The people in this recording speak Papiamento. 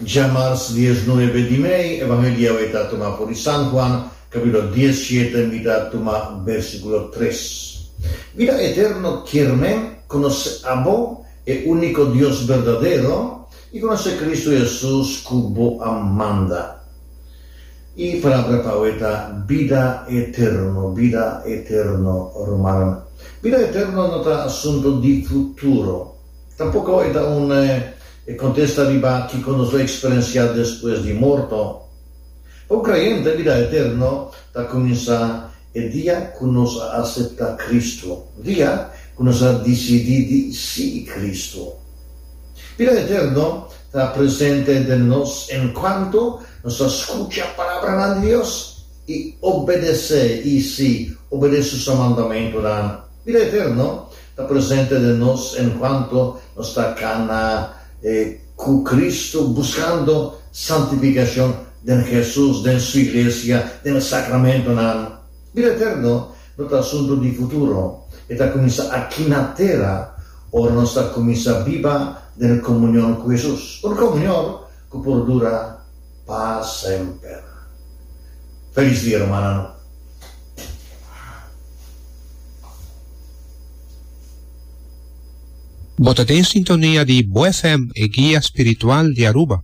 Djamars diesnuebe di mei, Evangelio awe ta tuma for di San Juan, capítulo diesshete, mi ta tuma bèrsikulo tres. Bida eterno kier men konosé abo, e úniko Dios berdadero, i konosé Kristu Hesus ku bo a manda. E palabra pa awe ta bida eterno, bida eterno, rumannan. Bida eterno no ta asunto di futuro. Tampoco e ta un contesta riba kico nos lo experencia despues di morto. Pa un creyente, bida eterno ta cuminsa e dia cu nos a acepta Cristo, dia cu nos a dicidi di sigui Cristo. Bida eterno ta presente den nos encuanto nos ta scucha palabranan di Dios i obedecé, i sí, obedece su mandamentunan. Bida eterno ta presente den nos encuanto nos ta cana cu Cristo buscando santificacion den Jesus, den Su Iglesia, den sacramentonan. Bida eterno no ta asunto di futuro, e ta cuminsa aki na tera ora nos ta cuminsa biba den comunion cu Jesus, un comunion cu por dura pa semper. Feliz dia, rumannan! Bo ta den sintonia di Bo FM, e guia spiritual di Aruba.